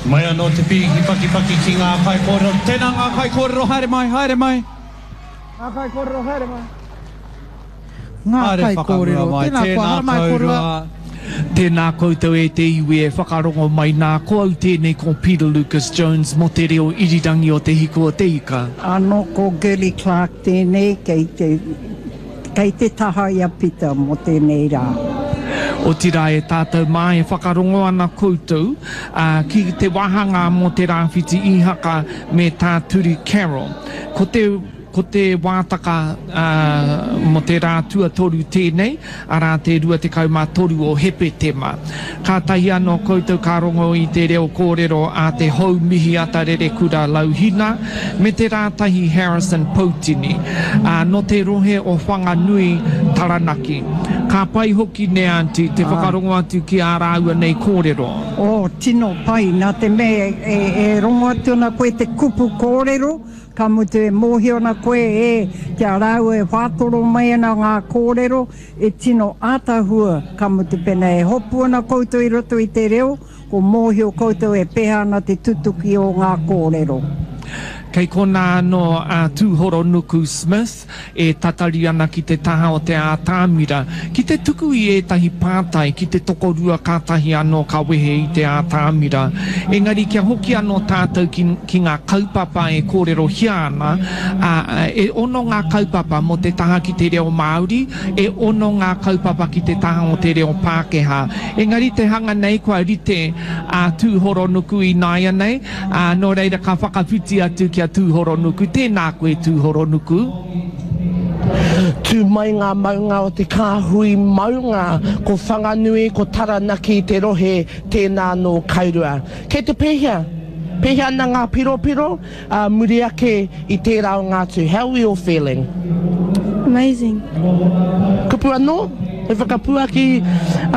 Mai anō te pīki pakipaki ki ngā kaikōrero. Tēnā ngā kaikōrero, haere mai, haere mai. Ngā kaikōrero, haere mai. Ngā Haere kaikōrero, whakamua mai, tēnā koa, tēnā haramai kōrua. kōrua. Tēnā koutou e te iwi e whakarongo mai nā, ko au tēnei ko Peter Lucas Jones mō te reo irirangi o Te Hiku o Te Ika. Anō ko Girlie Clarke tēnei kei te Kei te taha i a Pita mō tēnei rā. Otirā e tātou mā e whakarongo ana koutou, ā, ki te wāhanga mō te Rāwhiti Īhaka me tā Turi Carroll. Ko te, ko te wātaka, ā, mō te rā tuatoru tēnei, arā te 23 o Hepetema. Kātahi anō koutou ka rongo i te reo kōrero a te hou mihiata rerekura Lauhina me te rātahi Harrison Poutini, ā, nō te rohe o Whanganui, Taranaki. Ka pai hoki nē Aunty, te whakarongo atu ki ā rāua nei kōrero. Oh, tino pai, nā te mea e rongo atu ana koe te kupu kōrero, Ka mutu e mōhio ana koe e, ki a rāua e whātoro mai ana ngā kōrero, e tino ātahua, ka mutu pēnā e hopu ana koutou i roto i te reo, ko mōhio koutou e pēhea ana te tutuki o ngā kōrero. Kei konā anō a Tūhoronuku Smith e tatari ana ki te taha o te ātamira, ki te tuku i ētahi pātai ki te tokorua kātahi anō ka wehe i te ātamira. Engari kia hoki anō tātou ki, ki ngā kaupapa e kōrerohia ana, ā, e ono ngā kaupapa mō te taha ki te reo Māori, e ono ngā kaupapa ki te taha o te reo Pākehā. Engari te hanga nei kua rite a Tūhoronuku ināianei, ā, nō reira ka whakawhiti atu ki a Tūhoronuku. Tēnā koe Tūhoronuku. Tū mai ngā maunga o te kāhui maunga, ko Whanganui, ko Taranaki te rohe, tēnā nō Kairua. Kei te pēhea? Pēhea ana ngā piropiro ā muri ake i tērā o ngā tū? How are we all feeling? Amazing. Kupu anō hei whakapuaki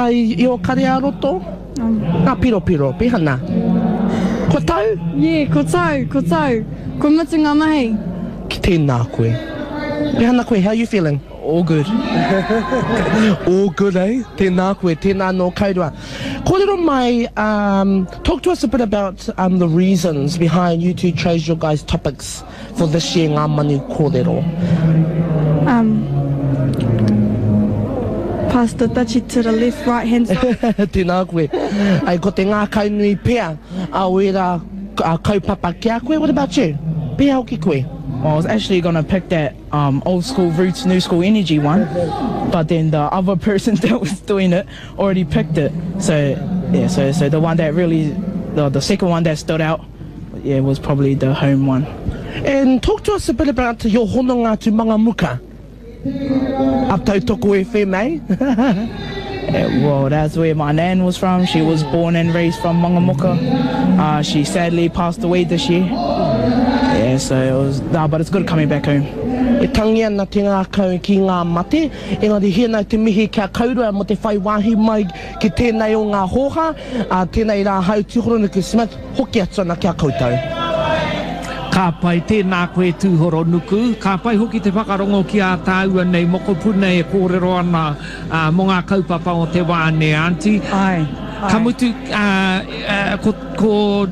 i ō kare ā-roto? Ngā piropiro, pēhea nā? Kua tau? Yeah, kua tau, kua tau. Kua mutu ngā mahi. Ki tēnā koe. Pēhea ana koe, how are you feeling? All good. All good, eh? Tēnā koe, tēnā nō Kairua. Kōrero mai, um, talk to us a bit about um, the reasons behind you two chose your guys' topics for this year Ngā Manu Kōrero. Um, pass the dutchie to the left, right hand side. Tēnā koe. Ai, ko te ngākaunui pea a o ērā kaupapa ki a koe. What about you? Pēhea hoki koe? Well, I was actually gonna pick that um, old school roots, new school energy one, but then the other person that was doing it already picked it. So yeah, so so the one that really, the, the second one that stood out, yeah, was probably the home one. And talk to us a bit about your hononga to Mangamuka. A Tautoko FM, eh? Well, that's where my nan was from. She was born and raised from Mangamuka. Uh, she sadly passed away this year. Yeah, so it was, nah, but it's good coming back home. E tangi ana te ngākau ki ngā mate, engari hēnā te mihi ki a Kaurua mō te whai wāhi mai ki tēnei o ngā hōhā, ā, tēnei rā hau Tūhoronuku Smith, hoki atu ana ki a koutou. Ka pai, tēnā koe Tūhoronuku. Ka pai hoki te whakarongo ki ā tāua nei mokopuna e kōrero ana ā, mō ngā kaupapa o te wā, nē, Aunty? Āe, Ka āe. mutu, ā, ā, ko, ko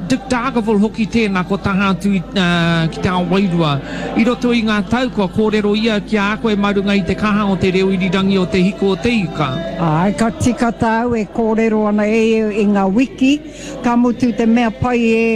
Dick Dargaville hoki tēnā, ko taha atu i, ā, ki te ao wairua. I roto i ngā tau, kua kōrero ia ki a koe mā runga i te kaha o te reo irirangi o Te Hiko o Te Ika. Āe, ka tika tāu e kōrero ana e ia i ngā wiki, ka mutu te mea pai e,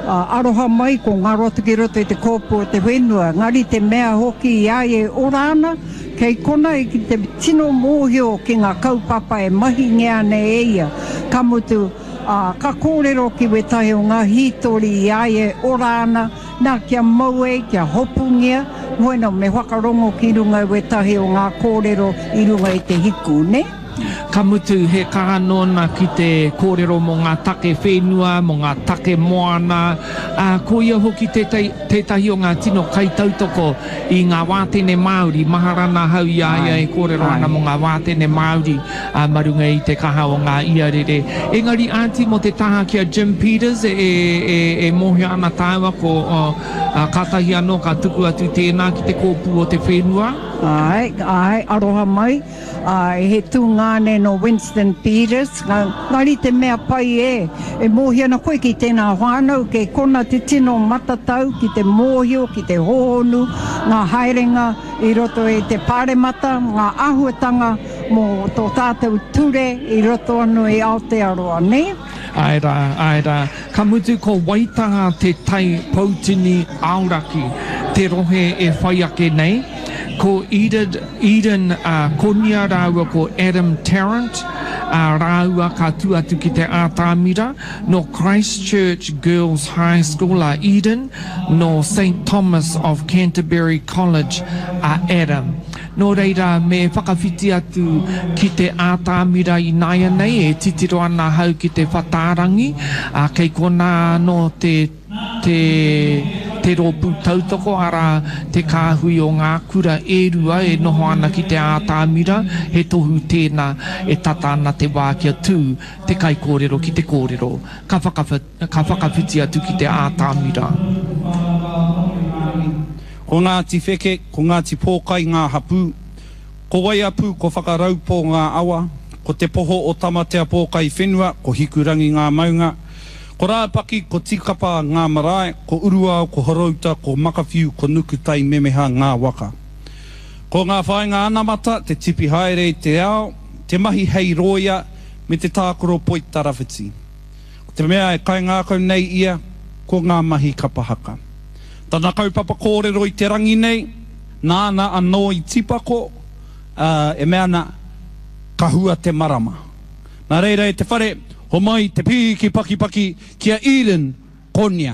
aroha mai ko ngaro atu ki roto i te kōpū o te whenua, engari te mea hoki i a ia e ora ana, kei kona i te tino mōhio ki ngā kaupapa e mahingia ana e ia, ka mutu, ā, ka kōrero ki wētahi o ngā hītori i a ia e ora ana, nā, kia mau ai, kia hopungia, bueno, me whakarongo ki runga i wētahi o ngā kōrero i runga i te hiku, nē? Ka mutu, he kaha nōna ki te kōrero mō ngā take whenua, mō ngā take moana, ā, ko ia hoki tētahi o ngā tino kaitautoko i ngā wātene Māori. Mahara ana ahau i a ia e kōrero ana mō ngā wātene Māori, ā, mā runga i te kaha o ngā iarere. Engari, Aunty, mō te taha ki a Jim Peters, e, e, e mōhio ana tāua ko, ā, kātahi anō ka tuku atu tēnā ki te kōpū o te whenua. Āe, āe, aroha mai. Āe, he tungāne nō Winston Peters. Engari te mea pai e, e mōhio ana koe ki tēnā whānau, kei kona te tino matatau ki te mōhio, ki te hōhonu ngā haerenga i roto i te Pāremata, ngā āhuatanga mō tō tātou ture i roto anō i Aotearoa, nē? Āe rā, āe rā. Ka mutu ko Waitaha te tai poutini aoraki, te rohe e whai ake nei. Ko Edid, Eden Konia rāua ko Adam Tarrant rāua ka tū atu ki te ātamira. Nō Christchurch Girls High School a Eden, nō Saint Thomas of Canterbury College a Adam. Nō reira, me whakawhiti atu ki te ātamira ināianei, e titiro ana ahau ki te whatārangi, ā, kei konā anō te, te, te rōpū tautoko, arā, te kāhui o ngā kura e rua e noho ana ki te ātamira, he tohu tēnā e tata ana te wā kia tū te kaikōrero ki te kōrero. Ka whakawhiti. Ka whakawhiti atu ki te ātamira. Ko Ngāti Wheke, ko Ngāti Pōkai ngā hapū, ko Waiapu, ko Whakaraupō ngā awa, ko Te Poho o Tamatea Pōkai whenua, ko Hikurangi ngā maunga, ko Rāpaki, ko Tīkapa ngā marae, ko Uruao, ko Horouta, ko Makawhiu, ko Nukutai Memeha ngā waka. Ko ngā whāinga anamata, te tipi haere i te ao, te mahi hei rōia, me te tākaro poitarawhiti. Ko te mea e kaingākau nei ia, ko ngā mahi kapa haka. Tana kaupapa kōrero i te rangi nei, nāna anō i tīpako, ā, e mea ana, ka hua te marama. Nā reira e te whare, homai te pīki pakipaki ki a Eden Konia.